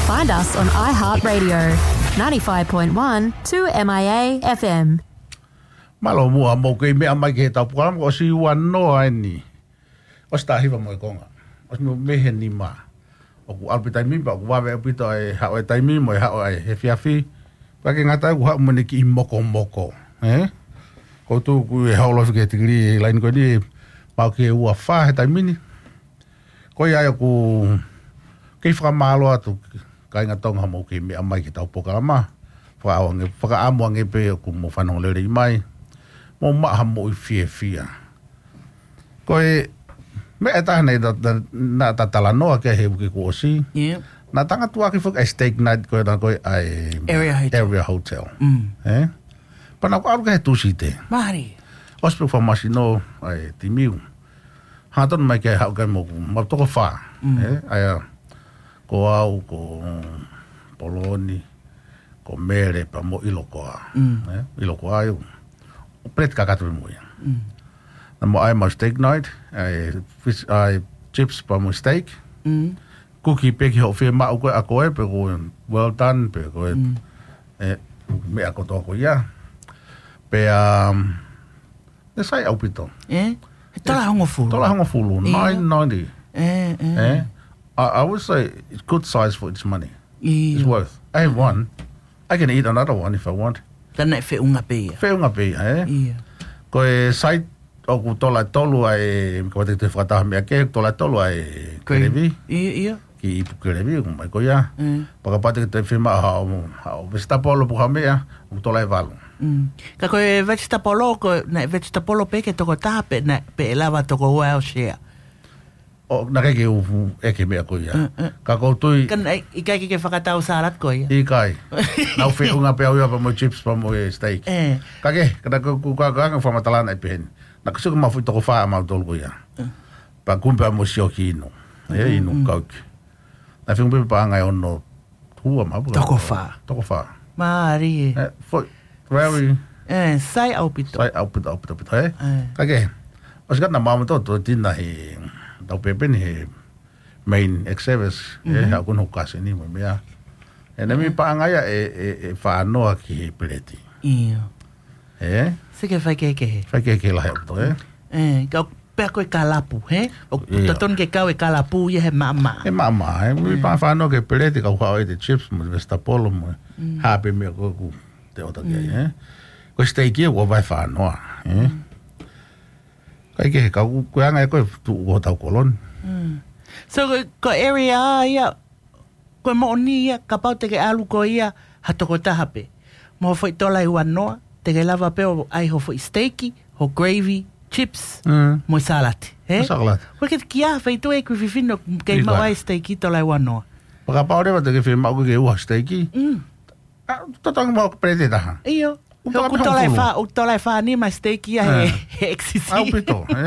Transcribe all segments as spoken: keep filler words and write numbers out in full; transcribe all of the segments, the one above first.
Find us on iHeartRadio, ninety-five point one two M I A F M. Mālō muʻa hoʻomou kei meʻa mai ki heʻetau polokalama, ʻosi ua noa eni. ʻOsi taha hiva mo e konga. ʻOsi mo e mehe nima. ʻOku ʻalu pē taimi pea ʻoku vave ʻaupito ʻa e haʻu e taimi mo e haʻu ʻa e efiafi. Pea ʻikai ke ngata ai ʻoku haʻu mo ʻene kiʻi mokomoko. Ē? Ko u tuku e holo fika tikilī he laine ko eni, maʻu ki he ua fā he taimi ni. Ko ia ai ʻoku kei fakamālō atu kāinga Tonga hoʻomou kei meʻa mai ki heʻetau polokalama. Fakaʻamu ange, fakaʻamu ange pē ʻoku mou fanongo lelei mai. Mou maʻu haʻamou fiefia. Ko e meʻa ʻe taha naʻa ta, ta, naʻa ta talanoa ki ai he uike kuo ʻosi. Yeah. Naʻa ta ngāueʻaki foki ʻa e steak night ko ē naʻe ko ē ʻa e Area Hotel. Area Hotel. Mm. Ē? Pea naʻa ku ʻalu ki ai he Tūsite. Mālie. ʻOsi pē famasino ʻa e timi. Hangatonu mai ke haʻu ki ai mo, mo toko fā. Mm. Ē? ʻA ia, ko au, ko Poloni, ko Mele, pea mo ʻIlokoa. Mm. Ē? ʻIlokoa ʻoku peleti kakato pē mo ia. Mm. Naʻa mau ʻai mau steak night, ʻai fish, ʻai chips pea mo steak. Mm. Kuki pē ki hoʻo fiemaʻu ko ē ʻa koe, pe ko e well done, pe ko e, mm, ē, meʻa kotoa ko ia. Pea, um, ʻe sai ʻaupito. Ē? He tola hongofulu. Tola hongofulu, ʻio, nine ninety. Ē, ē. Ē? I, I would say it's good size for its money. ʻIo. It's worth. I have one. I can eat another one if I want. Ka naʻe feʻunga pē ia. Feʻunga pē ia, ē? ʻIo. Ko e side ʻoku tola ʻe tolu ʻa e, kapau te ke fakataha meʻa kehe, tola ʻe tolu ʻa e gravy. Gravy. ʻIo, ʻio. Kiʻi ipu gravy, ʻomai ko ia. Mm. Pea kapau te ke toe fiemaʻu haʻo, haʻo vegetable pe ko ha meʻa, ʻoku tola ʻe valu. Mm. Ka ko e vegetable, ko e, naʻe vegetable pē ki he tokotaha pe, naʻe, pe ʻe lava toko ua ʻo share. ʻO, naʻe ʻikai ke u ʻeke meʻa ko ia. Mm, mm. Ka ʻoku ou tui. Ka naʻe ʻikai ke ke fakatau salad ko ia. ʻIkai. Naʻa ku feʻunga pē au ia pea mo chips pea mo e steak. Ē. Ka ke, ka naʻa ku, ku, ka, ka, ka fakamatala naʻe pehē ni. Naʻa ku sio ki he mafuʻi toko fā ʻamautolu ko ia. Mm. Pea kumi pea mo sio ki he inu. Ē, mm, inu, mm, Coke. Naʻe feʻunga pē paʻanga ʻe ono ua mapu. Toko fā. Toko fā. Mālie. Ē, foʻi, very. Ē, sai ʻaupito. Sai ʻaupito, ʻaupito, ʻaupito, ē? Ē. Ka ke, ʻosi ka naʻa mau to, to tina he, tau pēpē ni he main ex-service, ē, mhm, haʻu ko ē hoku kaseni mo e meʻa. Ē, naʻe, ē, meimei paʻanga ia ʻe, ʻe, ʻe fā noa ki he peleti. ʻIo. Ē? Sio ki he faikehekehe. Faikehekehe lahi ʻaupito, ē? Ē, ka pea ko e kalapu, hē? ʻOku, ʻio, totonu ke kau e kalapu ia he maʻamaʻa. He maʻamaʻa, ē? Meimei, ē, paʻanga fā noa ki he peleti, ka u haʻu ʻo ʻai e chips mo e vegetable mo e, mm, hā pē meʻa ko ē ʻoku te ʻoatu ki ai, mm, ē? Ko e steak ia ʻoku ʻave fā noa, ē? Mm. ʻIkai ke, ka ʻoku, ko e anga ia ko ē tuʻu ko hotau koloni. Mm. So, ko, ko e area ia, ko e moʻoni ia, kapau te ke ʻalu koe ia ha tokotaha pē. Mo e foʻi tola ʻe ua noa, te ke lava pē ʻo ʻai ho foʻi steak, ho gravy, chips, mm, mo e salati, hē? Mo e salati. ʻOku ʻikai ke ʻi ai ha feituʻu ʻi Kuififine ʻoku kei, ʻikai, maʻu ai steak tola ʻe ua noa. Pea kapau leva te ke fiemaʻu ke ʻoua steak. Mm. ʻA, totongi mo e peleti ʻe taha. ʻIo. He ʻoku tola ʻe fā, ʻoku tola ʻe fā, ʻoku tola ʻe fā nima steak ia he, ē, he X C C. ʻAupito, ē?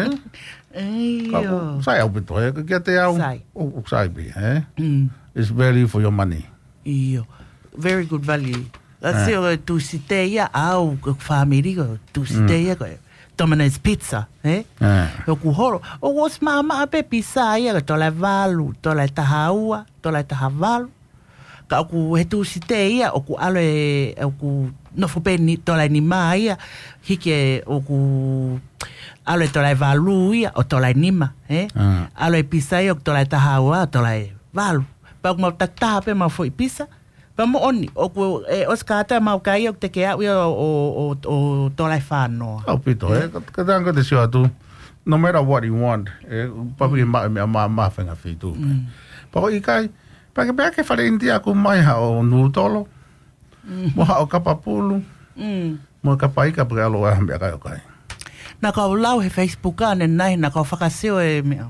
ʻIo. Ka ʻoku sai ʻaupito, ē? Kiate au, sai, ʻoku, ʻoku sai pē, ē? Mm. It's value for your money. ʻIo. Very good value. That's, ē, it, ko e Tūsite ia, au, ko e family ko e Tūsite, mm, ia ko e Domino's Pizza, ē? Ē. He ʻoku holo. ʻOku ʻosi maʻamaʻa pē pizza ia, ko e tola ʻe valu, tola ʻe taha ua, tola ʻe taha valu. Ka ʻoku he Tūsite ia, ʻoku ʻalu e, ʻoku nofo pē ni, tola ʻe nima ia, hiki e ʻoku ʻalu e tola ʻe valu ia, ʻo tola ʻe nima, ē? Ah. ʻAlu e pizza ia, ʻoku tola ʻe taha ua, ʻo tola ʻe valu. Pea ʻoku mau takitaha pē mau foʻi pizza, pea moʻoni, ʻoku, ē, ʻosi kātoa mau kai ʻoku te ke aʻu ia ʻo, ʻo, ʻo, ʻo tola ʻe fā noa. ʻAupito, ē? Ē? Ka, ka tanga te sio atu, no matter what you want, ē, pau ke, mm, maʻu e meʻa mā, mā faʻahinga feituʻu. Mm. Pea ko e ʻikai, pea ke, pea ke fale ʻInitia ʻoku mai haʻo nūtolo, mm, mo haʻo kapa pulu, mm, mo e kapa ika pea ke ʻalu ʻo ʻai ha meʻakai ʻo kai. Naʻa ku lau he Facebook ʻanenai, naʻa ku fakasio e meʻa.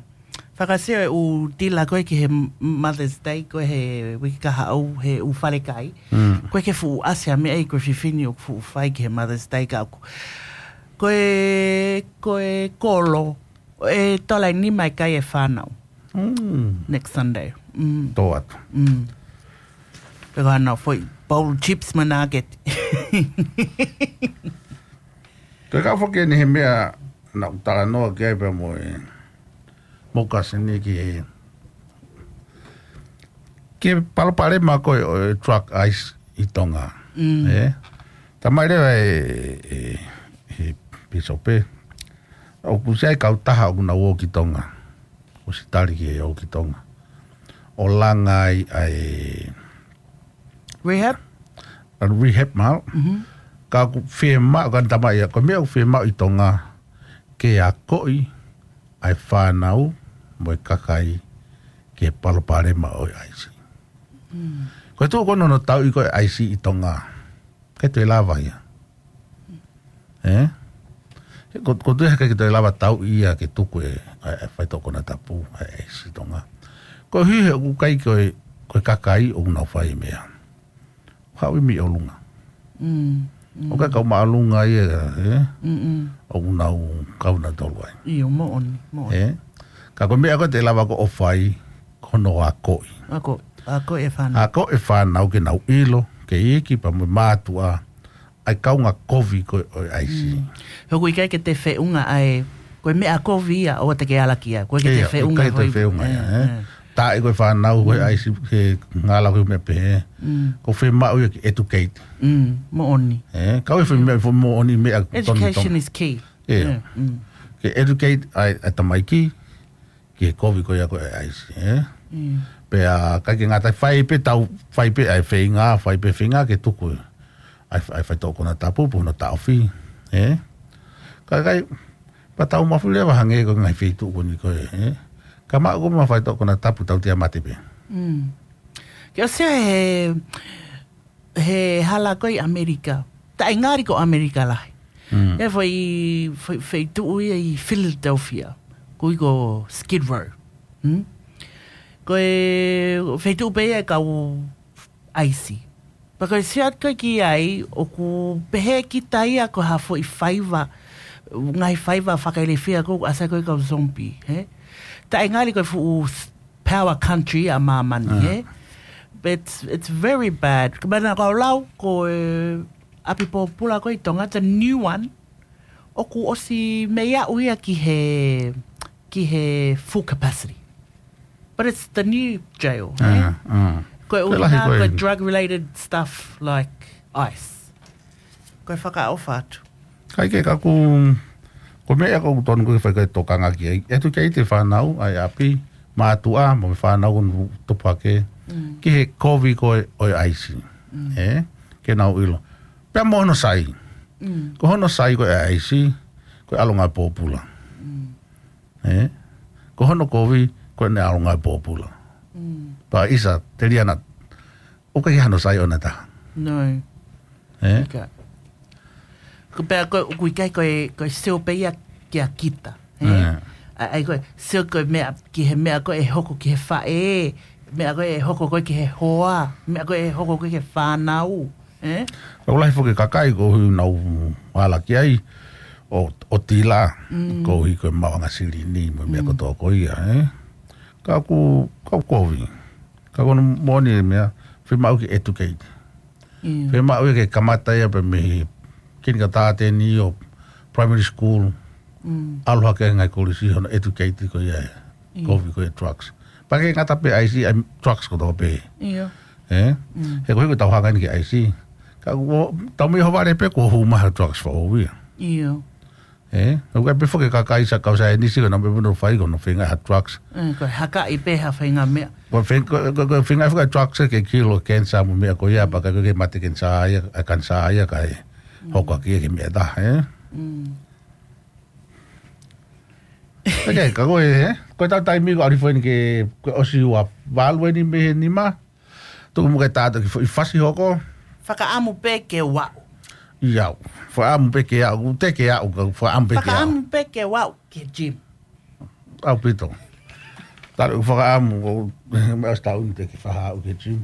Fakasio e ʻū tila ko ē ki he Mother's Day ko ē he uike kahaʻu he ʻū falekai. Mm. Ko e ke fuʻu ʻasi ha meʻa ʻi Kuififine ʻoku fuʻu fai ki he Mother's Day ka ʻoku. Ko e, ko e kolo, ʻe tola ʻe nima e kai e fānau. Mm. Next Sunday. Mm. Tō atu. Mm. Pea ko hano foʻi bowl chips mo e nugget. Ko e kau foki eni he meʻa naʻa ku talanoa ki ai pea mo e, mo e kaseni ki he, Ke palopalema ko ē ʻo e drug ice ʻi Tonga. Mm. Ē? Tamai leva e, e, e pīsope. ʻOku ʻi ai e kautaha ʻoku nau ō ki Tonga. ʻOsi tali ke ō ki Tonga. ʻO langa ai ʻa e Rehab? ʻA e rehab mahalo. Mhm. Ka ʻoku fiemaʻu, ka tamai ia, ko e meʻa ʻoku fiemaʻu ʻi Tonga, ke akoʻi ʻa e fānau mo e kakai ki he palopalema ʻo e ice. Mm. Ko e tuʻu ko ē hono tauʻi ko ē ice ʻi Tonga. ʻIkai toe lava ia. Ē? Ko, ko e tuʻu ia he ʻikai ke toe lava tauʻi ia ke tuku e, ʻa e, ʻa e faitoʻo konatapu, ʻa e ice ʻi Tonga. Koeʻuhi he ʻoku ʻikai ko e, ko e kakai ʻoku nau fai e meʻa. Haʻu ʻi mei ʻolunga. Mm, mm. ʻOku ʻikai kau māʻolunga ia, ē? Mm, mm. ʻOku nau kau nautolu ai. ʻIo, moʻoni, moʻoni. Ē? Ka ko e meʻa ko ē te lava ko ē ʻo fai, ko hono akoʻi. Ako, akoʻi e fānau. Akoʻi e fānau ke nau ʻilo, ke iiki pea mo e mātuʻa, ʻa e kaungā kovi ko ē ʻo e ice. Mm. He ʻoku ʻikai ke toe feʻunga ʻa e, ko e meʻa kovi ia, ʻoua te ke ala ki ai. ʻOku ʻikai ke toe Ia, feʻunga ʻikai toe foʻi feʻunga ia, ē? ē. Taʻe ko e fānau ko ē Mm. ice ke ngala ko e meʻa pehē. Mm. ʻOku fiemaʻu ia ke educate. Mm, moʻoni. Ē, kau e foʻi meʻa, foʻi moʻoni meʻa tonu Education Tonga. is key. Ia. Yeah, mm. Ke educate ʻa e, ʻa e tamaiki, ki he kovi ko ia ko ē ice, ē? Mm. Pea ʻikai ke ngata ai fai pē tau, fai pē ʻa e feinga, fai pē feinga ke tuku ʻa e, ʻa e faitoʻo konatapu pe hono taʻofi, ē? Ka ʻikai, pea tau mafu leva hangē ko e ngaahi feituʻu ko eni ko ē, ē? Ka maʻu ko ē mo e faitoʻo konatapu tau toe mate pē. Mm. Ke ʻosi he, he hala ko ē ʻi ʻAmelika. Taʻe ngali ko ʻAmelika lahi. Mm. Ia foʻi, foʻi, feituʻu ia ʻi Philadelphia. Ko ē ko Skid Row. Mm? Ko e feituʻu pē ia ʻa e kau ice. Pea ko e sio atu ko ē ki ai, ʻoku pehē kita ia ko ha foʻi faiva, ngaahi faiva fakailifia ko ē ʻoku ʻasi ai ko ē kau zombie, ē? Taʻe ngali ko e fuʻu s-, power country ʻa māmani, Ah. ē? But it's, it's very bad. Ka mana kau lau, ko e ʻapi pōpula ko ē ʻi Tonga, the new one, ʻoku ʻosi mei aʻu ia ki he, ki he full capacity. But it's the new jail, ē? Ah, ah. Ko e Ko e lahi ʻuhinga, ko ko e e drug related stuff like ice. Ko e fakaʻofa atu. ʻIkai ke kaku, ko e meʻa ʻoku totonu ke fai ko e tokanga ki ai. Educate e fānau, ʻa e ʻapi, mātuʻa, mo e fānau ʻoku tupu hake, Mm. ki he kovi ko ē ʻo e ice. Mm. Ē? Ke nau ʻilo. Pea mo hono sai. Mm. Ko hono sai ko ē ice, ko e ʻalu ngāue pōpula. Mm. Ē? Ko hono kovi, ko ʻene ʻalu ngāue pōpula. Mm. Pea ʻisa, Teliana, ʻoku ʻikai hano sai ʻona taha. No. Ē? ʻIkai. Ko pea ko, ʻoku ʻikai ko e, ko e sio pē ia kia kita. Ē? Ē. ʻA, ʻai ko e, sio ko e meʻa, ki he meʻa ko ē hoko ki he faʻē, meʻa ko ē hoko ko ē ki he hoa, meʻa ko ē hoko ko ē ki he fānau. Ē? Ka ʻoku lahi foki e kakai ʻoku nau ala ki ai, ʻo, ʻo tila, Mm. koeʻuhi ko e maʻuʻanga silini, mo e meʻa Mm. kotoa ko ia, ē? Ka ʻoku, ka ʻoku kovi. Ka ko hono moʻoni e meʻa, fiemaʻu ke educate. ʻIo. Fiemaʻu ia ke kamata ia pē mei he kinikalani ʻo primary school. Mm. ʻAlu hake ngaahi kolisi hono educate ko ia e ʻIo. kovi ko e drugs. Pea ʻikai ngata pē ice, ʻa e drugs kotoa pē. ʻIo. Ē? Mm. He ko e hiko tau hanga eni ki he ice. Ka ʻoku, tau mei ho vale pē kuo hū mai ha drugs foʻou ia. ʻIo. Ē? ʻOku ʻikai pē foki e kakai sa kau saienisi ko ē naʻa nau pē puna fai ko hono feinga ha drugs. Ē, ko e hakaʻi pē ha feinga meʻa. Ko e fei-, ko, ko, ko e feinga foki e drugs ke kilo cancer mo e meʻa ko ia, Mm. pea ʻikai ke mate cancer ia, ʻa e cancer ia kae Mm. hoko ʻaki ia ke meʻa taha, ē? Mm. ʻIkai, ka ko e, ē? Ko e tau taimi ko ʻalu hifo eni ke, ko e ʻosi ua valu eni mei he nima. Tuku muʻa ke tātā ki fo-, ʻi fasi hoko. Fakaʻamu pē ke u aʻu. ʻIo. Fakaʻamu pē ke aʻu, te ke aʻu, ka fakaʻamu pē ke aʻu. Fakaʻamu pē ke u aʻu ki he gym. ʻAupito. Talu fakaʻamu, ko, meʻa ʻosi taʻu ni te ke faʻa aʻu ki he gym.